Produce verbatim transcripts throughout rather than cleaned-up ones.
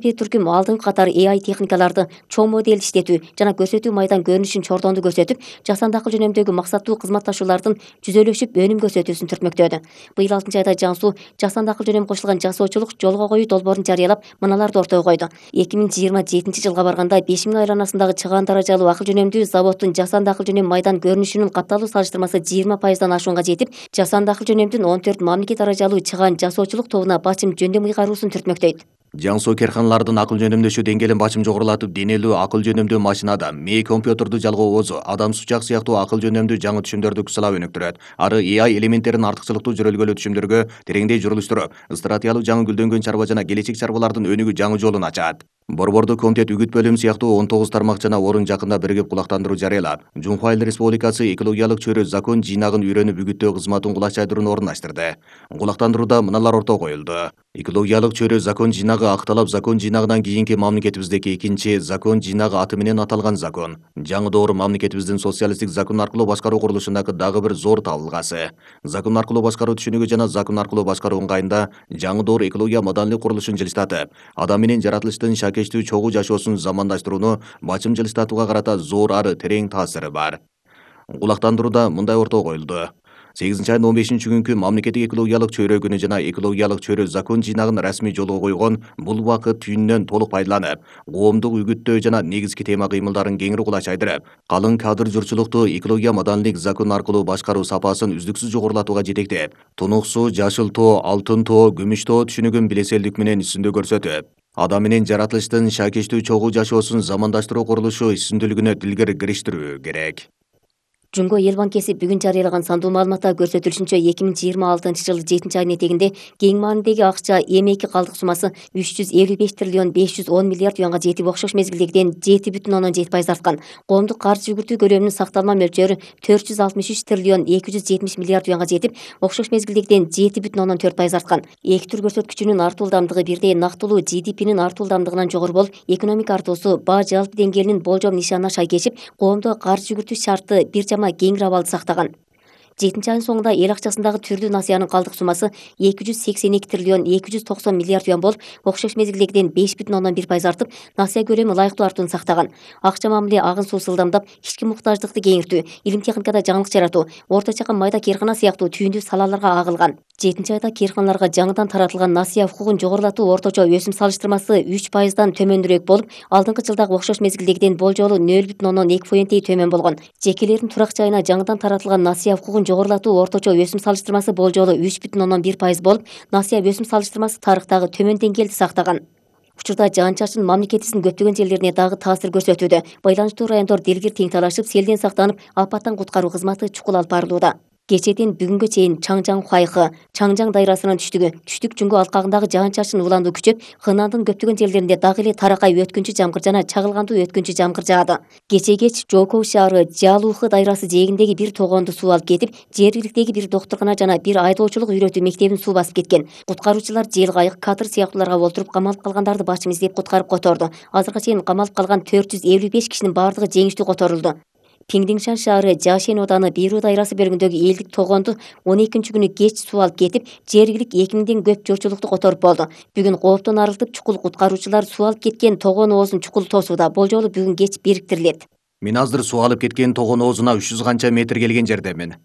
бир түркүм алдыңкы катар A I техникаларды чоң модель иштетүү жана көрсөтүү майдан көрүнүшүн чордонду көрсөтүп, жасанды акыл жөнөмдөгү максаттуу кызматташуулардын жүзөлөшүп өнүм көрсөтүүсүн түртмөктөдү. Быйыл алтынчы айда Жаңсу жасанды акыл жөнөм кошулган жасоочулук жолго коюу долбоорун жарыялап, мыналарды ортого койду. эки миң жыйырма жетинчи жылга барганда беш миң айланасындагы чыгаан даражалуу акыл жөнөмдүү заводдун жасанды акыл жөнөм майдан көрүнүшүнүн катталуу салыштырмасы жыйырма пайыздан ашуунга жетип, жасанды акыл жөнөмдүн он төрт мамлекет даражалуу чыгаан жасоочулук тобуна бачым жөндөм ыйгаруусун түртмөктөйт. Жаңсу керканалардын акыл жөнөмдөшүү деңгээлин бачым жогорулатып, денелүү акыл жөнөмдүү машинада мээ компьютерду жалгоо оозу, адам сучак сыяктуу акыл жөнөмдүү жаңы түшүмдөрдү күчсалап өнүктүрөт. Ары A I элементтерин артыкчылыктуу жөрөлгөлүү түшүмдөргө тереңдей жүрүлүштүрүп, стратегиялык жаңы гүлдөнгөн чарба жана келечек чарбалардын өнүгүү жаңы жолун ачат. Борбордуу комитет үгүт бөлүм сыяктуу он тогуз тармак жана орун жакында биригип кулактандыруу жарыялап, Жумхуайыл Республикасы экологиялык чөйрө закон жыйнагын үйрөнүп үгүттөө кызматын кулачайдырууну орундаштырды. Кулактандырууда мыналар ортого коюлду. Экологиялык чөйрө закон жыйнагы акталап, закон жыйнагынан кийинки мамлекетибиздеги экинчи закон жыйнагы аты менен аталган закон. Жаңы доор мамлекетибиздин социалисттик закон аркылуу башкаруу курулушундагы дагы бир зор табылгасы. Закон аркылуу башкаруу түшүнүгү жана закон аркылуу башкаруу ыңгайында жаңы доор экология маданийлик курулушун жылыстатып, адам менен жаратылыштын шакештүү чогуу жашоосун замандаштырууну бачым жылыстатууга карата зор ары терең таасири бар. Кулактандырууда мындай ортого коюлду. сегизинчи айдын он бешинчи күнкү мамлекеттик экологиялык чөйрө күнү жана экологиялык чөйрө закон жыйнагын расмий жолго койгон бул убакыт түйүнүнөн толук пайдаланып, коомдук үгүттөө жана негизги тема кыймылдарын кеңири кулачайдырып, калың кадр журтчулукту экология маданийлик закон аркылуу башкаруу сапасын үздүксүз жогорулатууга жетектеп, Тунук суу, Жашыл тоо, Алтын тоо, Күмүш тоо түшүнүгүн билеселдик менен үстүндө көрсөтүп, адам менен жаратылыштын шакештүү чогуу жашоосун замандаштыруу курулушу үстүндүүлүгүнө тилгер кириштирүү керек. Жумго Эл банкеси бүгүн жарыялаган сандуу маалыматта көрсөтүлүшүнчө эки миң жыйырма алтынчы жылы жетинчи айдын этегинде кең маанидеги акча эмеки калдык суммасы үч жүз элүү беш триллион беш жүз он миллиард юанга жетип, окшош мезгилдегиден жети бүтүн ондон жети пайыз арткан. Коомдук каржы жүгүртүү көлөмүнүн сакталма мөлчөрү төрт жүз алтымыш үч триллион эки жүз жетимиш миллиард юанга жетип, окшош мезгилдегиден жети бүтүн ондон төрт пайыз арткан. Эки түр көрсөткүчүнүн артуу ылдамдыгы бирдей нактылуу G D P'нин артуу ылдамдыгынан жогору болуп, экономика артуусу баа жалпы деңгээлинин болжом нишанына шай кечип, коомдо каржы жүгүртүү шартты бир жама кеңири абалды сактаган. жетинчи айдын соңунда эл акчасындагы түрдүү насыянын калдык суммасы эки жүз сексен эки триллион эки жүз токсон миллиард юан болуп, окшош мезгилдегиден беш бүтүн ондон бир пайыз артып, насыя көлөмү ылайыктуу артууну сактаган. Акча мамиле агын суусу ылдамдап, ички муктаждыкты кеңиртүү, илим техникада жаңылык жаратуу, орто чакан майда керкана сыяктуу түйүндүү салаларга агылган. жетинчи айда керканаларга жаңыдан таратылган насыя укугун жогорулатуу орточо өсүм салыштырмасы үч пайыздан төмөнүрөөк болуп, алдыңкы жылдагы окшош мезгилдегиден болжолу нөл бүтүн ондон эки фоентей төмөн болгон. Жекелердин турак жайына жаңыдан таратылган насыя укугун жогорулатуу орточо өсүм салыштырмасы болжолу үч бүтүн ондон бир пайыз болуп, насыя өсүм салыштырмасы тарыхтагы төмөн деңгээлди сактаган. Учурда жаан-чачын мамлекетибиздин көптөгөн жерлерине дагы таасир көрсөтүүдө. Байланыштуу райондор дилгир тең талашып, селден сактанып, апаттан куткаруу кызматы чукул алып барылууда. Кечээден бүгүнгө чейин Чаңжаң Хуайхы, Чаңжаң дайрасынын түштүгү, түштүк Жумго алкагындагы жаан-чачын уландуу күчөп, Хынандын көптөгөн жерлеринде дагы эле таракай өткүнчү жамгыр жана чагылгандуу өткүнчү жамгыр жаады. Кечээ кеч Жокоу шаары Жалуухы дайрасы жээгиндеги бир тогоонду суу алып кетип, жергиликтеги бир доктуркана жана бир айдоочулук үйрөтүү мектебин суу басып кеткен. Куткаруучулар жел кайык, катыр сыяктууларга олтуруп камалып калгандарды бачым издеп куткарып которду. Азыркыга чейин камалып калган төрт жүз элүү беш кишинин баардыгы жеңиштүү которулду. Пиңдиңшан шаары Жашен ооданы Бирүү дайрасы бөлүгүндөгү элдик тогоонду он экинчи күнү кеч суу алып кетип, жергилик эки миңден көп журтчулукту которуп болду. Бүгүн кооптон арылтып, чукул куткаруучулар суу алып кеткен тогоон оозун чукул тосууда. Болжолу бүгүн кеч бириктирилет. Мен азыр суу алып кеткен тогоон оозуна үч жүз канча метр келген жердемин.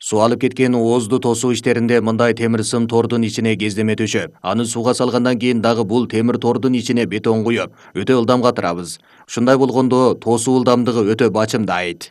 Суу алып кеткен оозду тосуу иштеринде мындай темир сым тордун ичине кездеме төшөп, аны сууга салгандан кийин дагы бул темир тордун ичине бетон куюп, өтө ылдам катырабыз. Ушундай болгондо тосуу ылдамдыгы өтө бачымдайт.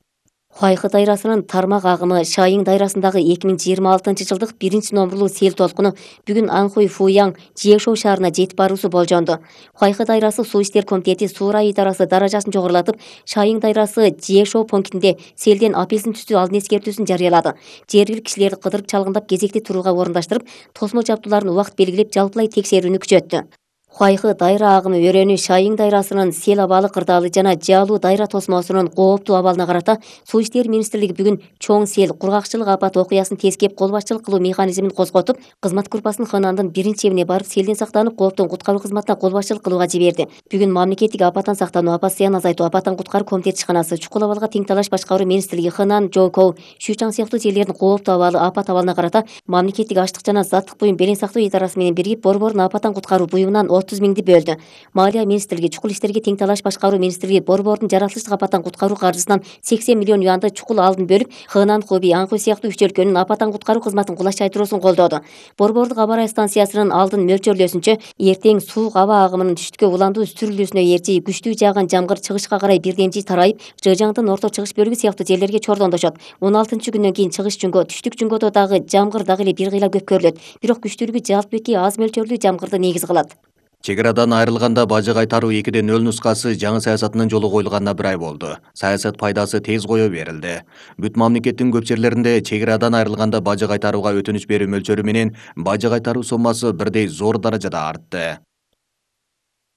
Хуайхы дайрасынын тармак агымы Шайың дайрасындагы эки миң жыйырма алтынчы жылдык биринчи номурлуу сел толкуну бүгүн Анхуй Фуяң Жиешоу шаарына жетип баруусу болжонду. Хуайхы дайрасы суу иштер комитети суу райы идарасы даражасын жогорулатып, Шайың дайрасы Жиешоу пунктинде селден апельсин түстүү алдын эскертүүсүн жарыялады. Жергиликтүү кишилерди кыдырып чалгындап кезекти турууга орундаштырып, тосмо жабдууларын убакыт белгилеп, жалпылай текшерүүнү күчөттү. Хуайхы дайра агымы өрөөнү Шайың дайрасынын сел абалы кырдаалы жана Жалуу дайра тосмосунун кооптуу абалына карата Суу иштери министрлиги бүгүн чоң сел, кургакчылык апат окуясын тескеп кол башчылык кылуу механизмин козготуп, кызмат группасын Хынандын биринчи эбине барып, селден сактанып, кооптон куткаруу кызматына кол башчылык кылууга жиберди. Бүгүн мамлекеттик апаттан сактануу, апат зыянын азайтуу, апаттан куткаруу комитети ишканасы, чукул абалга тең талаш башкаруу министрлиги, Хынан, Жокоу, Шучаң сыяктуу жерлердин кооптуу абалы, апат абалына карата мамлекеттик аштык жана заттык буюм белең сактоо идарасы менен биригип, борбордун апаттан куткаруу буюмунан отуз миңди бөлдү. Маалия министрлиги, чукул иштерге тең талаш башкаруу министрлиги Борбордун жаратылыштык апаттан куткаруу каржысынан сексен миллион юанды чукул алдын бөлүп, Хынан, Хуби, Аңху сыяктуу үч өлкөнүн апаттан куткаруу кызматын кулачайтыруусун колдоду. Борбордук аба ырайы станциясынын алдын мөлчөрлөөсүнчө, эртең суук аба агымынын түштүккө уландуу сүрүлүүсүнө ээрчи күчтүү жааган жамгыр чыгышка карай бирдемжи тарайып, Жыжаңдын орто чыгыш бөлүгү сыяктуу жерлерге чордондошот. он алтынчы күндөн кийин чыгыш жүнгө, түштүк жүнгөдө дагы жамгыр дагы эле бир кыйла көп көрүлөт. Бирок күчтүүлүгү жалпыки аз мөлчөрлүү жамгырды негиз кылат. Чек арадан айрылганда бажы кайтаруу экиде нөл нускасы жаңы саясатынын жолу коюлганына бир ай болду. Саясат пайдасы тез кое берилди. Бүт мамлекеттин көп жерлеринде чек арадан айрылганда бажы кайтарууга өтүнүч берүү мөлчөрү менен бажы кайтаруу соммасы бирдей зор даражада артты.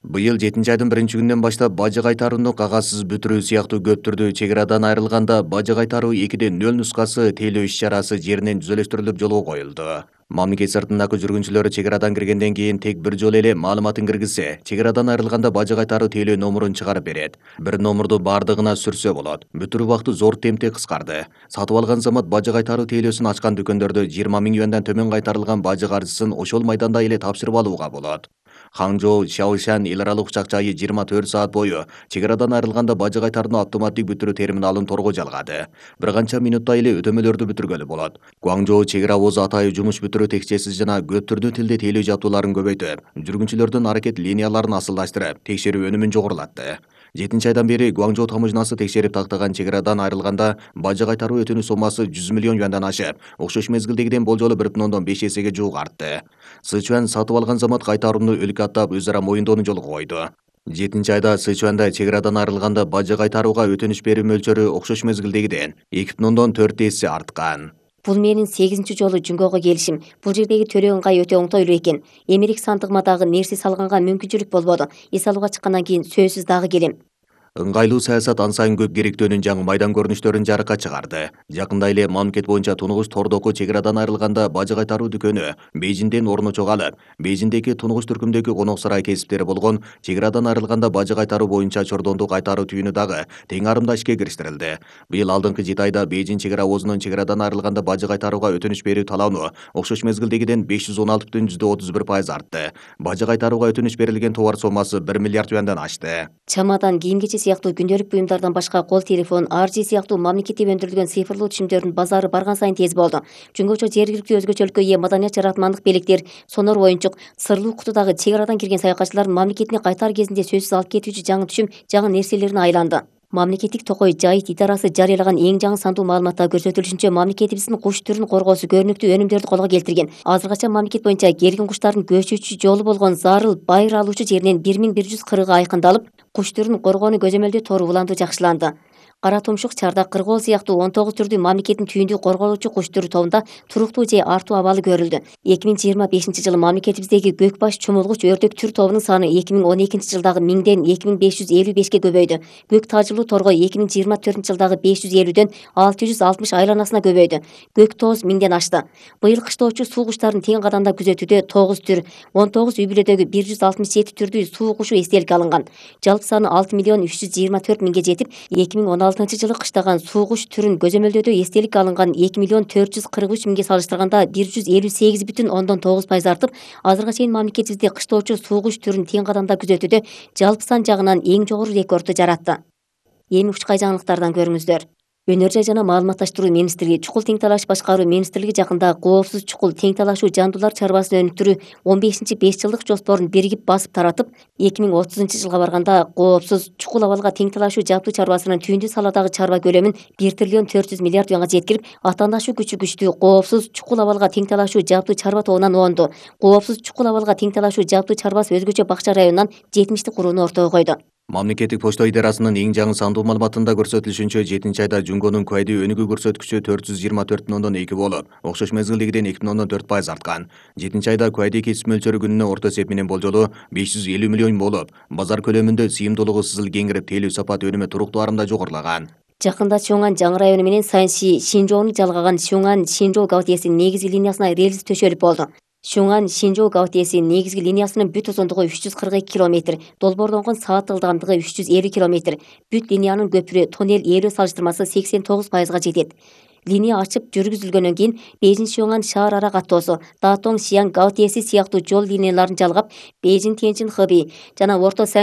Быйыл жетинчи айдын биринчи күнүнөн баштап бажы кайтарууну кагазсыз бүтүрүү сыяктуу көп түрдүү чек арадан айрылганда бажы кайтаруу экиде нөл нускасы тейлөө иш-чарасы жеринен түзөлүштүрүлүп жолго коюлду. Мамлекет сыртындагы жүргүнчүлөр чек арадан киргенден кийин тек бир жолу эле маалыматын киргизсе, чек арадан айрылганда бажы кайтаруу тейлөө номурун чыгарып берет. Бир номурду бардыгына сүрсө болот. Бүтүрүү убакыты зор темпте кыскарды. Сатып алган замат бажы кайтаруу тейлөөсүн ачкан дүкөндөрдө жыйырма миң юандан төмөн кайтарылган бажы каржысын ошол майданда эле тапшырып алууга болот. Ханчжоу, Шаошан эл аралык учак жайы жыйырма төрт саат бою чек арадан айрылганда бажы кайтарууну автоматтык бүтүрүү терминалын торго жалгады. Бир канча минутта эле өтөмөлөрдү бүтүргөлү болот. Гуаңжоу чек ара обозу атайы жумуш бүтүрүү текчеси жана көп түрдүү тилде тейлөө жабдууларын көбөйтүп, жүргүнчүлөрдүн аракет линияларын асылдаштырып, текшерүү өнүмүн жогорулатты. жетинчи айдан бери Гуаңжоу таможнасы текшерип тактаган чек арадан айрылганда бажы кайтаруу өтүнүү соммасы жүз миллион юандан ашып, окшош мезгилдегиден болжолу бир бүтүн ондон беш эсеге жуук артты. Сычуан сатып алган замат кайтарууну өлкө аттап өз ара моюндоону жолго койду. жетинчи айда Сычуанда чек арадан айрылганда бажы кайтарууга өтүнүч берүү мөлчөрү окшош мезгилдегиден эки бүтүн ондон төрт эсе арткан. Бул менин сегизинчи жолу жүнгөгө келишим. Бул жердеги төлөө ыңгай өтө оңтойлуу экен. Эмерек сандыгыма дагы нерсе салганга мүмкүнчүлүк болбоду. Эс алууга чыккандан кийин сөзсүз дагы келем. Ыңгайлуу саясат ан сайын көп керектөөнүн жаңы майдан көрүнүштөрүн жарыкка чыгарды. Жакында эле мамлекет боюнча тунугуш тордоку чек арадан айрылганда бажы кайтаруу дүкөнү Бейжиңден орну чогалып, Бейжиңдеги тунугуш түркүмдөгү конок сарай кесиптери болгон чек арадан айрылганда бажы кайтаруу боюнча чордонду кайтаруу түйүнү дагы тең арымда ишке кириштерилди. Быйыл алдыңкы жети айда Бейжиң чек ара обозунун чек арадан айрылганда бажы кайтарууга өтүнүч берүү талабы окшош мезгилдегиден беш жүз он алты бүтүн жүздө отуз бир пайыз артты. Бажы кайтарууга өтүнүч берилген товар соммасы бир миллиард юандан ашты. Чамадан, кийим-кече сыяктуу күндөлүк буюмдардан башка кол телефон, аржи сыяктуу мамлекеттеп өндүрүлгөн цифрлуу түшүмдөрдүн базары барган сайын тез болду. Жөнгөчө жергиликтүү өзгөчөлүккө ээ маданият жаратмандык белектер, сонор оюнчук, сырлуу кутудагы чек арадан кирген саякатчылардын мамлекетине кайтар кезинде сөзсүз алып кетүүчү жаңы түшүм, жаңы нерселерине айланды. Мамлекеттик токой жайыт идарасы жарыялаган эң жаңы сандуу маалыматта көрсөтүлүшүнчө, мамлекетибиздин куш түрүн коргоосу көрүнүктүү өнүмдөрдү колго келтирген. Азыркыча мамлекет боюнча келген куштардын көчүүчү жолу болгон зарыл байыр алуучу жеринен бир миң бир жүз кырыгы айкындалып, куш түрүн коргоону көзөмөлдөө тору уланду жакшыланды. Кара тумшук, чардак, кыргоол сыяктуу он тогуз түрдүү мамлекеттин түйүндүү корголуучу куш түрү тобунда туруктуу же артуу абалы көрүлдү. эки миң жыйырма бешинчи жылы мамлекетибиздеги көк баш, чумулгуч, өрдөк түр тобунун саны эки миң он экинчи жылдагы миңден эки миң беш жүз элүү бешке көбөйдү. Көк тажылуу торгой эки миң жыйырма төртүнчү жылдагы беш жүз элүүдөн алты жүз алтымыш айланасына көбөйдү. Көк тоз миңден ашты. Быйыл кыштоочу суу куштарын тең кадамда күзөтүүдө тогуз түр, он тогуз үй бүлөдөгү бир жүз алтымыш жети түрдүү суу кушу эстеликке алынган. Жалпы саны алты миллион үч жүз жыйырма төрт миңге жетип, эки миң он алтынчы жылы кыштаган суу куш түрүн көзөмөлдөөдө эстеликке алынган эки миллион төрт жүз кырк үч миңге салыштырганда бир жүз элүү сегиз бүтүн ондон тогуз пайыз артып, азыркыга чейин мамлекетибизде кыштоочу суу куш түрүн тең кадамда күзөтүүдө жалпы сан жагынан эң жогору рекордду жаратты. Эми учкай жаңылыктардан көрүңүздөр. Өнөр жай жана маалыматташтыруу министрлиги, чукул тең талаш башкаруу министрлиги жакында коопсуз чукул тең талашуу жандуулар чарбасын өнүктүрүү он бешинчи беш жылдык жоспорун биригип басып таратып, эки миң отузунчу жылга барганда коопсуз чукул абалга тең талашуу жабдуу чарбасынын түйүндүү саладагы чарба көлөмүн бир триллион төрт жүз миллиард юанга жеткирип, атаандашуу күчү күчтүү коопсуз чукул абалга тең талашуу жабдуу чарба тобунан оонду. Коопсуз чукул абалга тең талашуу жабдуу чарбасы өзгөчө бакча районунан жетимишти курууну ортого койду. Мамлекеттик почта идарасынын эң жаңы сандуу маалыматында көрсөтүлүшүнчө, жетинчи айда жунгонун куайдуу өнүгүү көрсөткүчү төрт жүз жыйырма төрт бүтүн ондон эки болуп, окшош мезгилдегиден эки бүтүн ондон төрт пайыз арткан. жетинчи айда куайдый кесип мөлчөрү күнүнө орто эсеп менен болжолу беш жүз элүү миллион болуп, базар көлөмүндө сыйымдуулугу сызыл кеңирип, тейлөө сапат өнүмү туруктуу арымда жогорулаган. Жакында Сюнган жаңы району менен Санси Шинжоону жалгаган Сюнган Шинжоо габытээсинин негизги линиясына рельс төшөлүп болду. Сюнган Шинжоо габытээси негизги линиясынын бүт узундугу үч жүз кырк эки километр, долбоордонгон саат ылдамдыгы үч жүз элүү километр, бүт линиянын көпүрө, тоннель ээлөө салыштырмасы сексен тогуз пайызга жетет. линия ачып жүргүзүлгөндөн кийин Бейжин Шуаңан шаар ара каттоосу, Датong Шияң Гаотеси сыяктуу жол линияларын жалгап, Бейжин Тяньшин Хэби жана Орто Саньши